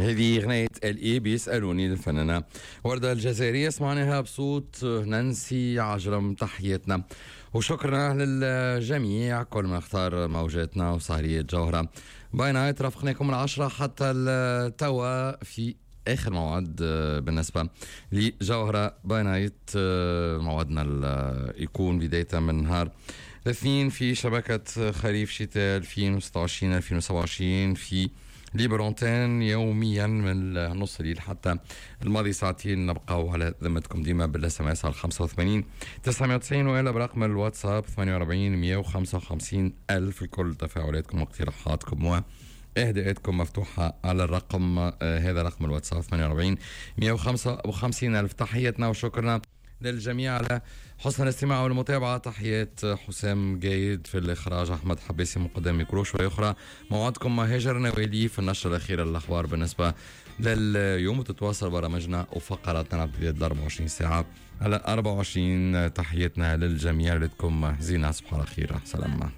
هذه أغنية الإي بيسألوني للفنانة وردة الجزائرية، سمعناها بصوت نانسي عجرم. تحياتنا وشكرا للجميع كل ما اختار موجاتنا وسهرية جوهرة by night. رافقناكم من 10 حتى التوا في اخر موعد بالنسبة لجوهره by night. موعدنا يكون بداية من نهار الاثنين في شبكة خريف شتاء 2026 2027 في libre antenne يوميا من نص الليل حتى الماضي ساعتين. نبقاو على ذمتكم ديما بال SMS على 85 990 والا برقم الواتساب 48 155 الف. الكل تفاعلاتكم واقتراحاتكم و اهداءاتكم مفتوحة على الرقم هذا، رقم الواتساب 48 155 ألف. تحياتنا وشكرنا للجميع على حسن الاستماع والمتابعة. تحيات حسام جايد في الإخراج، أحمد حبيسي مقدم ميكرو. شوية أخرى موعدكم مع هاجر نوالي في النشرة الأخيرة للأخبار بالنسبة لليوم، وتتواصل برامجنا وفقراتنا امتداد 24 ساعة على 24. تحياتنا للجميع، لكم زينة، صباح الخير، سلام.